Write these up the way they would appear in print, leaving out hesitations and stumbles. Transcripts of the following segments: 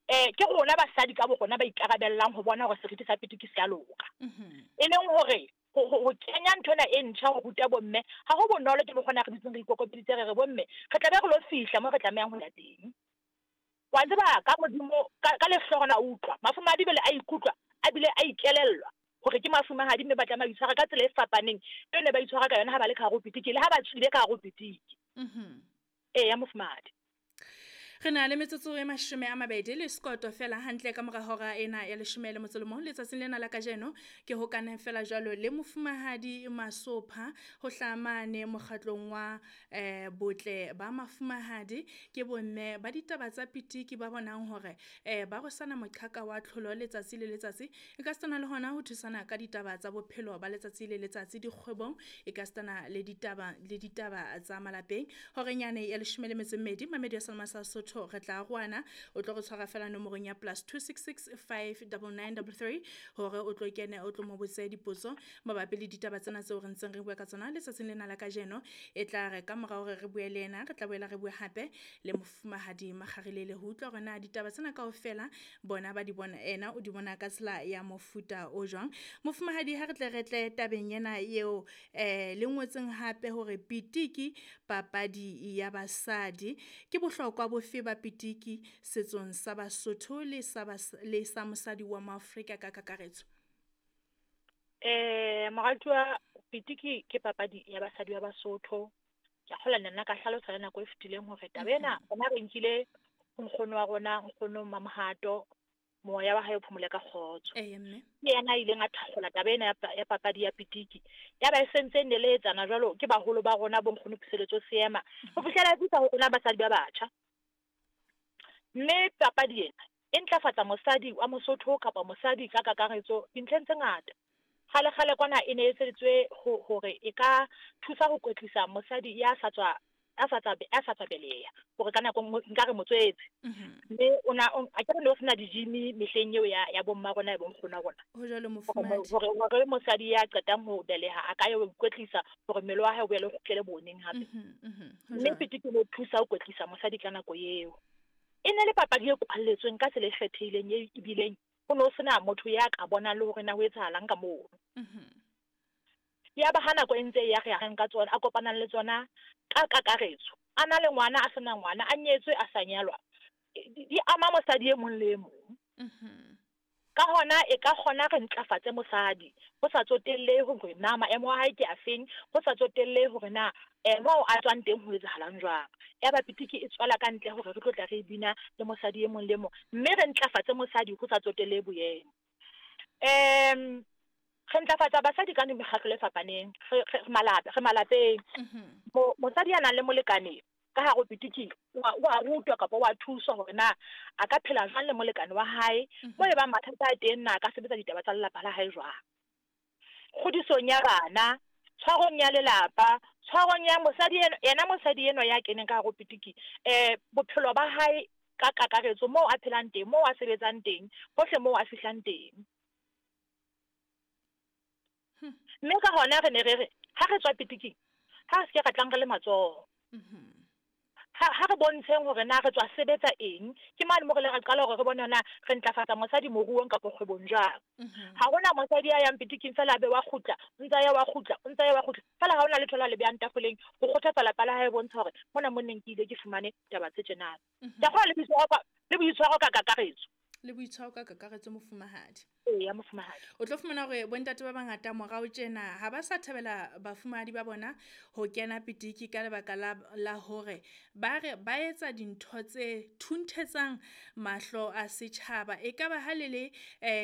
Ke rona basadi ka bo rona ba ikarabellang ho bona hore seriti sa pitiki se a loka. E leng hore ho kenya nthwena e ntjha ho ruta bomme ha ho bonolo, ke mokgona re dutseng re ikokobeditse, re re bomme re tla be re lo fihla mo re tlamehang ho ya teng. Wa tseba ka Modimo ka lehlohonolo a utlwa mafumahadi jwale a ikutlwa a bile a ikelellwa hore ke mafumahadi, mme ba tlameha ho itshwara ka tsela e fapaneng eo ne ba itshwara ka yona ha ba le ka hare ho pitiki le ha ba tswile ka hare ho pitiki. Eya mofumahadi. Re na le metsotso e 20 le sekoto fela hantle ka mora hora ena ya 11 letsatsing lena la kajeno. Ke hokane fela jwalo le mofumahadi Masopha ho hlamane mokgatlong wa botle ba mafumahadi. Ke bomme ba ditaba tsa pitiki ba bonang hore ba rwesana moqhaka wa tlholo letsatsi le letsatsi, e ka sitana le hona ho thusana ka ditaba tsa bophelo ba letsatsi le letsatsi dikgwebong, e ka sitana le ditaba le ditaba tsa malapeng. Horeng yane ya 12 mamedi ya Selma sa Sotho re tla roana, o tlo re tshwara fela nomorong ya +266 599 33 hore o tlo kene o tlo mo botse dipotso mabapi le ditaba tsena tseo re ntseng re bua ka tsona letsatsing lena la kajeno. E tla re ka mora hore re bue le yena, re tla boela re bue hape le mofumahadi Makgarilele ho utlwa hore na ditaba tsena kaofela bona ba di bona, ena o di bona ka tsela ya mofuta o jwang. Mofumahadi, ha re tle re tle tabeng ena eo le ngotseng hape hore pitiki papadi ya basadi, ke bohlokwa bofe ba pitiki setsong sa Basotho le sa le sa mosadi wa Maafrika ka kakaretso? Moratuwa, pitiki ke papadi ya basadi ba Basotho. Ke a kgolwa nna ka hlalosa le nako e fetileng hore taba ena rona re nkile ho nkgono wa rona, nkgono Mamohato, moya wa hae o phomole ka kgotso. Eya mme. Ke yena a ileng a thakgola taba ena ya papadi ya pitiki. Ya ba e sentse e neletsana jwalo ke baholo ba rona bo nkgono Puseletso Seema ho fihlela e fihla ho rona basadi ba batjha. Mme papadi ena e ntlafatsa mosadi wa Mosotho kapa mosadi ka kakaretso dintlheng tse ngata. Kgale kgale kwana e ne e etseditswe hore e ka thusa ho kwetlisa mosadi ya sa tswa a sa tswa beleha, hore ka nako e nngwe nkare motswetse. Mme o na akere ne ho sena di-gym mehleng eo ya bomma rona ya bonkgono wa rona. Ho jwalo mofumahadi. Hore mosadi ya qetang ho beleha a ka ya ho ikwetlisa hore mmele wa hae o boele o kgutlele boneng hape. Mme pitiki e thusa ho kwetlisa mosadi ka nako eo. E ne le papadi e kwalletsweng ka tsela e kgethehileng e ebileng ho no sena motho ya ka bonang le hore na ho etsahalang ka mono. Ya ba ha nako e ntse ya re ya ka tsona, a kopanang le tsona ka kakaretso, a na le ngwana, a sena ngwana, a nyetswe, a sa nyalwa, di ama mosadi e mong le e mong. Ka hona e ka kgona re ntlafatse mosadi ho sa tsotelle hore na maemo a hae ke afeng, ho sa tsotelle hore na moo a tswang teng ho etsahalang jwang. Ya ba pitiki e tswela ka ntle hore re tlo tla re bina le mosadi e mong le mong, mme re ntlafatse mosadi ho sa tsotelle boemo. Re ntlafatsa basadi ka mekgatlo e fapaneng, re malapeng. Mosadi ya nang le molekane ka hare ho pitiki wa rutwa kapa wa thuswa hore na a ka phela jwang le molekane wa hae, mo e bang mathata a teng na a ka sebetsa ditaba tsa lelapa la hae jwang. Kgodisong ya bana, tshwarong ya lelapa, tshwarong ya mosadi yena mosadi enwa ya keneng ka hare ho pitiki, bophelo ba hae ka kakaretso, moo a phelang teng, moo a sebetsang teng, hohle moo a fihlang teng. Mme ka hona re ne re re ha re tswa pitiking, ha re se ke ra tlang re le matsoho. Ha re bontsheng hore na re tswa sebetsa eng, ke mane mo re le ra qala hore re bone na re ntlafatsa mosadi moruong kapa kgwebong jwang. Ha hona mosadi ya yang pitiking fela a be wa kgutla, o ntsa ya wa kgutla, o ntsa ya wa kgutla, fela ha hona letho la le behang tafoleng ho kgothatsa lapa la hae, bontsha hore mona mo neng ke ile ke fumane taba tse tjenana. Ke a kgolwa le boitshwaro ka kakaretso. Le boitshwaro ka kakaretso mofumahadi. Eya mofumahadi. O tlo fumana hore bontate ba bangata morao tjena ha ba sa thabela bafumahadi ba bona ho kena pitiki ka lebaka la hore ba re ba etsa dintho tse thunthetsang mahlo a setjhaba. E ka ba ha le le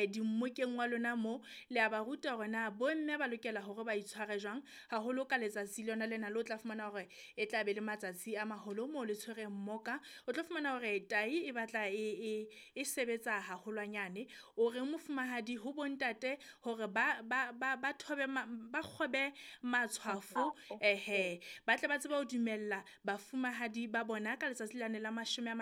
dimmokeng wa lona mo le a ba ruta hore na bomme ba lokela hore ba itshware jwang, haholo ka letsatsi lona lena le o tla fumana hore e tla be le matsatsi a maholo moo le tshwereng mmoka. O tlo fumana hore tai e batla e sebetsa haholwanyane. O re mofumahadi ho bontate hore ba thobe ba kgobe matshwafo, ehe, ba tle ba tsebe ho dumella bafumahadi ba bona ka letsatsi lane la 20.